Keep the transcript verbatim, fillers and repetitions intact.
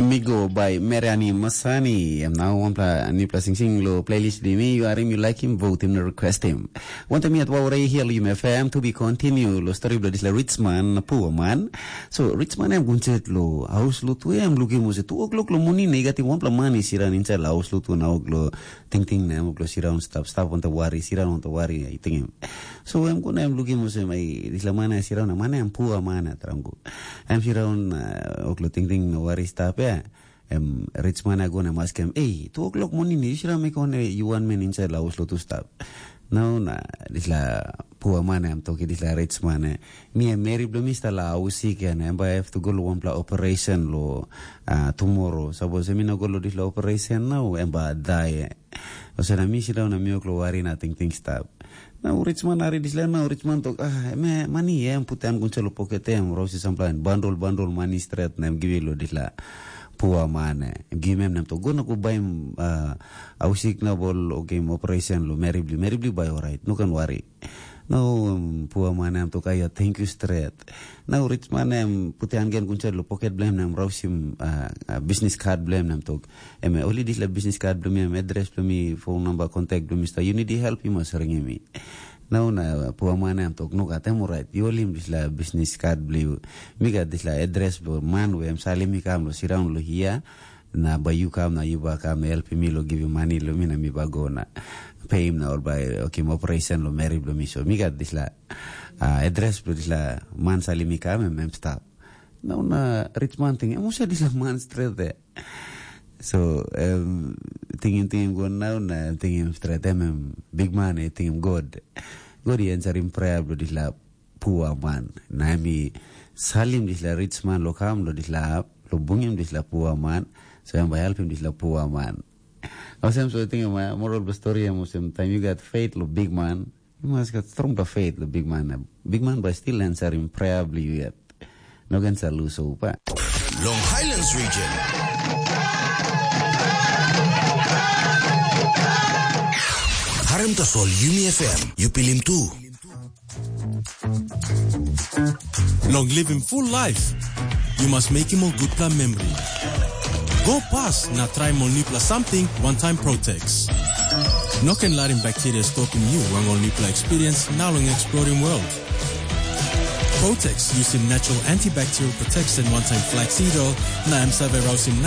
Migo by Meriani Masani. Em nau wanpela nipela singsing lo playlist di mi, yu harim, yu laikim, votim na requestim. Wantaim yet wau rei hia lo Yum F M, to be continue lo story bilong dispela rich man na poor man. So rich man em gunset lo haus lo tu, em lukim olsem two o'clock lo morning na i gat wanpela man i siran inside lo haus lo tu na ok lo tingting na em ok lo siraun stap stap wantaim wari, siraun wantaim wari, i tingim. So em go na em lukim olsem ai dispela man ya siraun na man em poor man ya, trangu. Em siraun, uh, ok lo tingting na wari stap ya. Em rich man ya go na em askim, "Ei, two o'clock morning yu siraun mi kone yu wan men inside lo haus lo tu stap." Nau na dispela poor man em toki dispela rich man, eh, "Mi em meri bilong mi stap lo haus sik ya na em bai have to go lo wanpela operation lo, uh, tomorrow. Sapos em i no go lo dispela operation nau em bai dai." Olsem na mi siraun na mi ok lo wari na tingting stap. Nau rich man hari dispela nau rich man tok, "Ah, em mani em putim gun lo poket em, rausim sampela bandol bandol mani stret na em givim lo dispela poor man, eh, em givim em na em tok, 'Go na go baim, ah, haus sik na bol okim operation lo meri bilong, meri bilong bai orait, no ken wari.'" Nau, um, poor man em tok, "Aia, thank you stret." Nau rich man em putim han gen gun lo poket bilong em na em rausim, ah, ah, business card bilong em na em tok, "Em oli dispela business card bilong mi, em address bilong mi, phone number, contact bilong mi stap. Yu nid help, yu mas ringim mi." Nau na poor man em tok, "Nogat, em orait. Yu holim dispela business card bilong yu. Mi gat dispela address bilong man we em salim mi kam lo siraun lo hia, na bai yu kam na yu bai kam helpim mi lo givim mani lo mi na mi bai go na peim na ol bai okim operation lo meri bilong mi. So mi gat dispela, ah, address bilong dispela man salim mi kam, em, em stap." Nau na rich man ting, "Em olsem dispela man stret ya." So em tingim tingim go nau na em tingim stret, em, em bikman i tingim God. God i ensarim prea bilong dispela poor man. Na em i salim dispela rich man lo kam lo dispela hap, lo bungim dispela poor man, so em bai helpim dispela poor man. Olsem so tingim, eh, moral bilong stori em olsem, taim yu gat faith lo bikman, yu mas gat strongpela faith lo bikman. Bikman bai stil ensarim prea bilong yu yet. No ken sa lus hope. Long Highlands Region. Harim tasol Yumi F M, yu pilim tu. Long living full life, you must make him a good plan memory. Go pas na try mo nipla something one time Protex. No ken larim bacteria stopim you wang ol nipla experience na long exploring world. Protex using natural antibacterial protection one time flaxseed oil na em save rausim